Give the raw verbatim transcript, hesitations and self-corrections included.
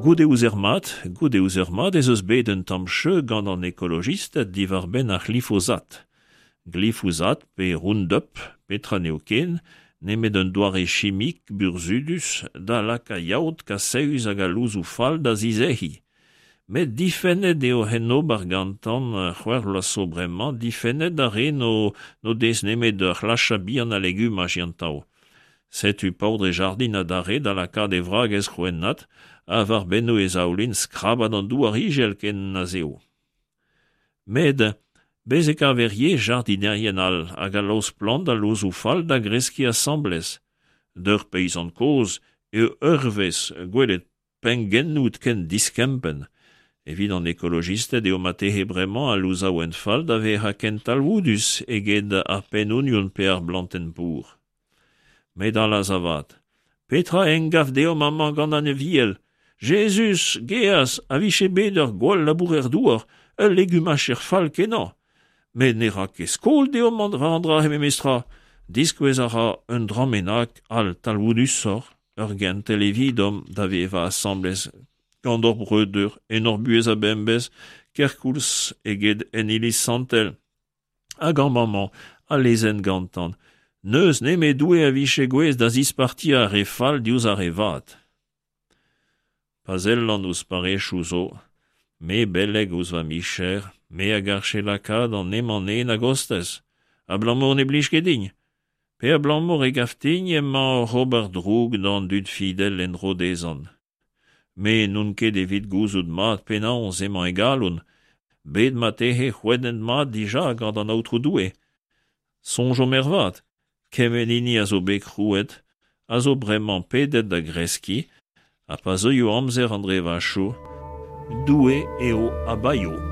Goude ouzer mat, goude ouzer mat ez eus bet un tamm cheu gant an ekolojisted diwar-benn ar c'hlifosat. Glifosat pe Roundup, petra n'eo ken, nemet un doare chimik burzhudus da lakaat yaot kasaus hag al louzoù fall da zizec'hiñ. Met difennet eo hen ober gantan c'hwec'h vloaz zo bremañ, difennet d'ar re n'o n'o dez nemet ur c'hlachad bihan a legumaj yantav. Setu paotr e jardin adarre da lakaat e vragez c'hwennat ha war bennoù e zaoulin skrabat an douar ijel ken na z'eo. Met bez e kaver ivez jardinerien all hag a laosk plant ha louzoù fall da greskiñ asambles. D'ur peizant kozh eo ur vezh gwelet pengennoù ken diskempenn. Evit an ekolojisted eo marteze bremañ al louzaouenn fall da vezañ ken talvoudus eget ar penn-ognon pe ar blantenn pour. Met allaz avat, petra emgav deomp amañ gant an Aviel? Jezuz, geaz, a vije bet ur gwall labourer-douar, ul legumacher fall-kenañ. Met ne ra ket skol deomp war an dra-se memestra. Diskouez a ra un dra bennak all talvoudusoc'h, ur gentel evidomp da vevañ asambles gant hor breudeur en hor buhez a-bemdez, kerkoulz eget en iliz santel. Hag amañ al lezenn gantan. N'eus nemet Doue a vije gouest da zispartiañ ar re fall diouzh ar re vat. Pa sellan ouzh parrezioù zo, me beleg ouzh va micher, me a garfe lakaat an hemañ-nen a-gostez, abalamour ne blij ket din, pe abalamour e gav din emañ oc'h ober droug d'an dud fidel en-dro dezhañ. Me n'on ket evit gouzout mat penaos emañ e galon, bet marteze c'hwennet mat dija gant an Aotrou Doue. Soñjomp ervat, kement hini a zo bet krouet a zo bremañ pedet da greskiñ, ha pa zeuio amzer an drevachoù, Doue eo a baeo.